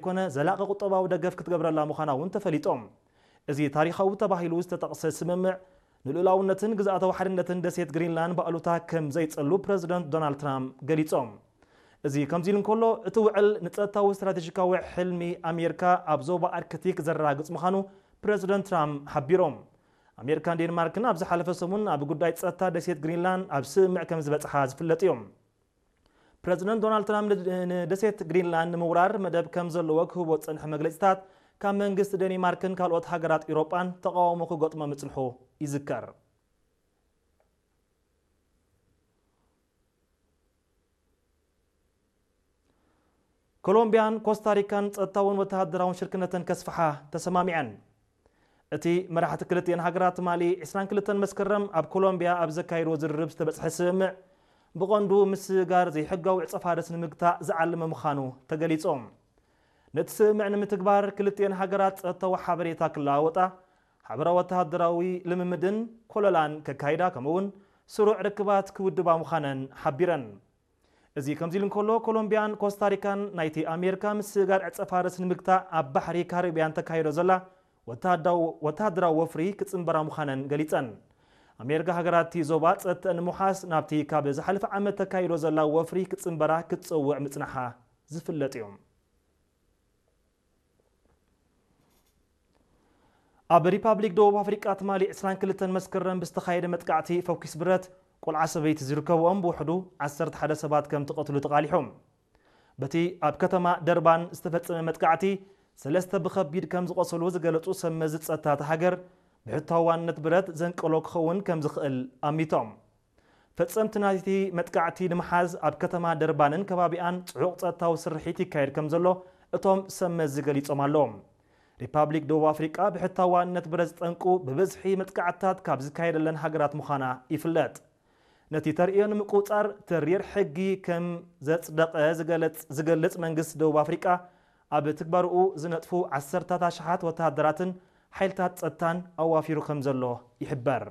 ዘይኮነ ዘላቒ ቁጠባዊ ደገፍ ክትገብረላ ምዃና እውን ተፈሊጦም። እዚ ታሪኻዊ ተባሂሉ ዝተጠቕሰ ስምምዕ ንልኡላውነትን ግዝኣታዊ ሓድነትን ደሴት ግሪንላንድ ብኣሉታ ከም ዘይጸሉ ፕረዚደንት ዶናልድ ትራምፕ ገሊጾም። እዚ ከምዚ ኢሉ እንከሎ፣ እቲ ውዕል ንጸጥታዊ ስትራቴጂካዊ ሕልሚ ኣሜሪካ ኣብ ዞባ ኣርክቲክ ዘረጋግጽ ምዃኑ ፕረዚደንት ትራምፕ ሓቢሮም። ኣሜሪካን ዴንማርክን ኣብ ዝሓለፈ ሰሙን ኣብ ጉዳይ ጸጥታ ደሴት ግሪንላንድ ኣብ ስምምዕ ከም ዝበጽሓ ዝፍለጥ እዮም። ፕረዚደንት ዶናልድ ትራምፕ ን-፣ ንደሴት ግሪንላንድ ንምውራር መደብ ከም ዘለዎ ክህቦ ዝጸንሐ መግለጺታት ካብ መንግስቲ ዴንማርክን ካልኦት ሃገራት ኤውሮጳን ተቓውሞ ክገጥሞ ምጽንሑ ይዝከር። ኮሎምቢያን ኮስታሪካን ጸጥታውን ወተሃደራውን ሽርክነተን ከስፍሓ ተሰማሚዐን። እቲ መራሕቲ ክልቲኤን ሃገራት ትማሊ ዕስራን ክልተን መስከረም ኣብ ኮሎምቢያ ኣብ ዘካየድዎ ዝርርብ ዝተበጽሐ ስምምዕ፣ ብቐንዱ ምስጋር ዘይሕጋዊ ዕጸ ፋርስ ንምግታእ ዝዓለመ ምዃኑ ተገሊጾም። ነቲ ስምምዕ ንምትግባር ክልቲኤን ሃገራት ጸጥታዊ ሓበሬታ ክለዋወጣ፣ ሓበራዊ ወተሃደራዊ ልምምድን ኮለላን ከካይዳ፣ ከምኡ'ውን ስሩዕ ርክባት ክውድባ ምዃነን ሓቢረን። እዚ ከምዚ ኢሉ እንከሎ፣ ኮሎምቢያን ኮስታሪካን ናይቲ ኣሜሪካ ምስጋር ዕጸ ፋርስ ንምግታእ ኣብ ባሕሪ ካሪብያን ተካይዶ ዘላ ወተሃዳው-፣ ወተሃደራዊ ወፍሪ ክጽንበራ ምዃነን ገሊጸን። ኣሜሪካ ሃገራት እቲ ዞባ ጸጥተን ንምውሓስ ናብቲ ካብ ዝሓለፈ ዓመት ተካይዶ ዘላ ወፍሪ ክጽንበራ ክትጸውዕ ምጽናሓ ዝፍለጥ እዩ። ኣብ ሪፓብሊክ ደቡብ ኣፍሪቃ ትማሊ ዕስራን ክልተን መስከረም ብዝተኻየደ መጥቃዕቲ ፈኲስ ብረት ቆልዓ ሰበይቲ ዝርከብኦም ብውሕዱ ዓሰርተ ሓደ ሰባት ከም ተቐትሉ ተቓሊሖም። በቲ ኣብ ከተማ ደርባን ዝተፈጸመ መጥቃዕቲ ሰለስተ ብኸቢድ ከም ዝቖሰሉ ዝገለጹ ሰብ መዚ ጸጥታ እታ ሃገር፣ ብሕታዊ ዋንነት ብረት ዘንቀሎ ክኸውን ከም ዝኽእል ኣሚቶም። ፈጸምቲ ናይቲ መጥቃዕቲ ንምሓዝ ኣብ ከተማ ደርባንን ከባቢኣን ጽዑቕ ጸጥታዊ ስርሒት ይካየድ ከም ዘሎ እቶም ሰብ መዚ ገሊጾም ኣለዉ። ሪፓብሊክ ደቡብ ኣፍሪቃ ብሕታዊ ዋንነት ብረት ዝጠንቁ ብብዝሒ መጥቃዕትታት ካብ ዝካየደለን ሃገራት ምዃና ይፍለጥ። ነቲ ተርእዮ ንምቁጽጻር ተሪር ሕጊ ከም ዘጽደቐ ዝገለጽ፣ ዝገልጽ መንግስቲ ደቡብ ኣፍሪቃ፣ ኣብ ትግባርኡ ዝነጥፉ ዓሰርታት ኣሽሓት ወተሃደራትን ሓይልታት ጸጥታን ኣዋፊሩ ከም ዘሎ ይሕበር።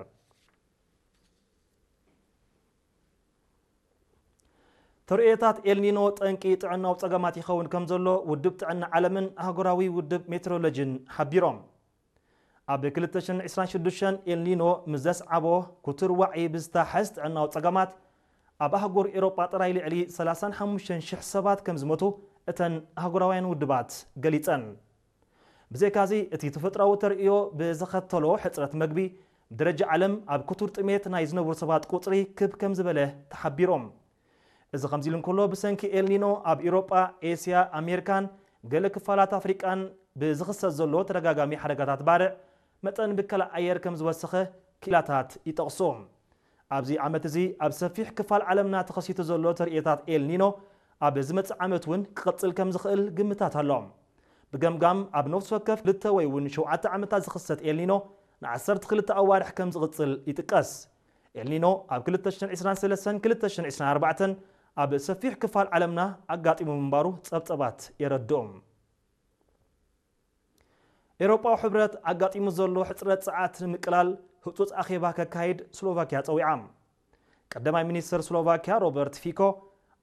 ተርእዮታት ኤልኒኖ ጠንቂ ጥዕናዊ ጸገማት ይኸውን ከም ዘሎ ውድብ ጥዕና ዓለምን ኣህጉራዊ ውድብ ሜትሮሎጂን ሓቢሮም። ኣብ ክልተ ሽሕን ዕስራን ሽዱሽተን ኤልኒኖ ምስ ዘስዓቦ ክቱር ዋዒ ብዝተሓዝ ጥዕናዊ ጸገማት፣ ኣብ ኣህጉር ኤውሮጳ ጥራይ ልዕሊ ሰላሳን ሓሙሽተን ሽሕ ሰባት ከም ዝሞቱ እተን ኣህጉራውያን ውድባት ገሊጸን። ብዘይካዚ፣ እቲ ተፈጥሮኣዊ ተርእዮ ብዘኸተሎ ሕጽረት መግቢ፣ ብደረጃ ዓለም ኣብ ክቱር ጥሜት ናይ ዝነብሩ ሰባት ቁጽሪ ክብ ከም ዝበለ ተሓቢሮም። እዚ ከምዚ ኢሉ እንከሎ፣ ብሰንኪ ኤልኒኖ ኣብ ኤውሮጳ፣ ኤስያ፣ ኣሜሪካን ገለ ክፋላት ኣፍሪቃን ብዝኽሰት ዘሎ ተደጋጋሚ ሓደጋታት ባርዕ፣ መጠን ብከላ ኣየር ከም ዝወሰኸ ክኢላታት ይጠቕሱ። ኣብዚ ዓመት እዚ ኣብ ሰፊሕ ክፋል ዓለምና ተኸሲቱ ዘሎ ተርእዮታት ኤልኒኖ ኣብ ዝመጽእ ዓመት እውን ክቕጽል ከም ዝኽእል ግምታት ኣሎ። ብገምጋም ኣብ ነፍሲ ወከፍ ክልተ ወይ እውን ሸውዓተ ዓመታት ዝኽሰት ኤልኒኖ ንዓሰርተ ክልተ ኣዋርሕ ከም ዝቕጽል ይጥቀስ። ኤልኒኖ ኣብ ክልተ ሽሕን ዕስራን ሰለስተን ክልተ ሽሕን ዕስራን ኣርባዕተን ኣብ ሰፊሕ ክፋል ዓለምና ኣጋጢሙ ምንባሩ ጸብጸባት የረድኡ። ኤውሮጳዊ ሕብረት ኣጋጢሙ ዘሎ ሕጽረት ጸዓት ንምቅላል ህጹጽ ኣኼባ ከካይድ ስሎቫክያ ጸዊዓ። ቀዳማይ ሚኒስተር ስሎቫክያ ሮበርት ፊኮ፣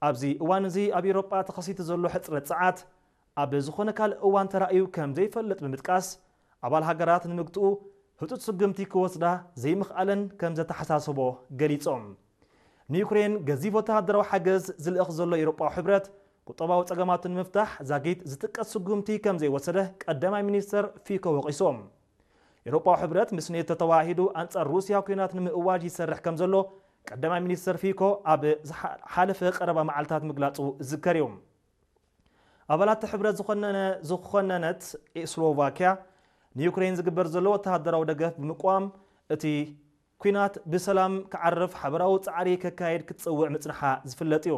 ኣብዚ እዋን እዚ ኣብ ኤውሮጳ ተኸሲቱ ዘሎ ሕጽረት ጸዓት ኣብ ዝኾነ ካልእ እዋን ተራእዩ ከም ዘይፈልጥ ብምጥቃስ፣ ኣባል ሃገራት ንምግትኡ ህጹጽ ስጉምቲ ክወስዳ ዘይምኽኣለን ከም ዘተሓሳሰቦ ገሊጾም። ንዩክሬን ገዚፍ ወተሃደራዊ ሓገዝ ዝልእኽ ዘሎ ኤውሮጳዊ ሕብረት፣ ቁጠባዊ ጸገማቱ ንምፍታሕ ዛጊት ዝጥቀስ ስጉምቲ ከም ዘይወሰደ ቀዳማይ ሚኒስተር ፊኮ ወቒሶም። ኤውሮጳዊ ሕብረት ምስ ኔቶ ተዋሂዱ ኣንጻር ሩስያ ኲናት ንምእዋጅ ይሰርሕ ከም ዘሎ ቀዳማይ ሚኒስተር ፊኮ ኣብ ዝሓ-፣ ሓለፈ ቀረባ መዓልታት ምግላጹ ዝዝከር እዩ። ኣባላት ሕብረት ዝኾነነ-፣ ዝኾነነት ስሎቫክያ ንዩክሬን ዝግበር ዘሎ ወተሃደራዊ ደገፍ ብምቅዋም፣ እቲ ኲናት ብሰላም ክዓርፍ ሓበራዊ ጻዕሪ ከካየድ ክትጸውዕ ምጽንሓ ዝፍለጥ እዩ።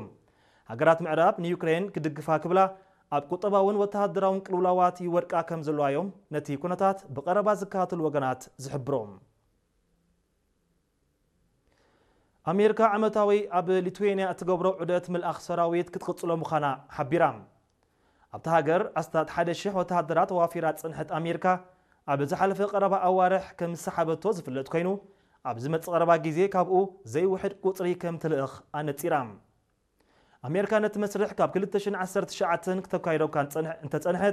ሃገራት ምዕራብ ንዩክሬን ክድግፋ ክብላ ኣብ ቁጠባውን ወተሃደራውን ቅልውላዋት ይወድቃ ከም ዘለዋ እዮም ነቲ ኩነታት ብቐረባ ዝከታተሉ ወገናት ዝሕብሩ። ኣሜሪካ ዓመታዊ ኣብ ሊቱዌንያ እትገብሮ ዑደት ምልኣኽ ሰራዊት ክትቕጽሎ ምዃና ሓቢራ። ኣብታ ሃገር ኣስታት ሓደ ሽሕ ወተሃደራት ኣዋፊራ ዝጸንሐት ኣሜሪካ፣ ኣብ ዝሓለፈ ቀረባ ኣዋርሕ ከም ዝሰሓበቶ ዝፍለጥ ኮይኑ፣ ኣብ ዝመጽእ ቀረባ ግዜ ካብኡ ዘይውሕድ ቁጽሪ ከም ትልእኽ ኣነጺራ። ኣሜሪካ ነቲ መስርሕ ካብ ክልተ ሽሕን ዓሰርተ ትሽዓተን ክተካይዶ እኳ እንጸንሐ-፣ እንተጸንሐት፣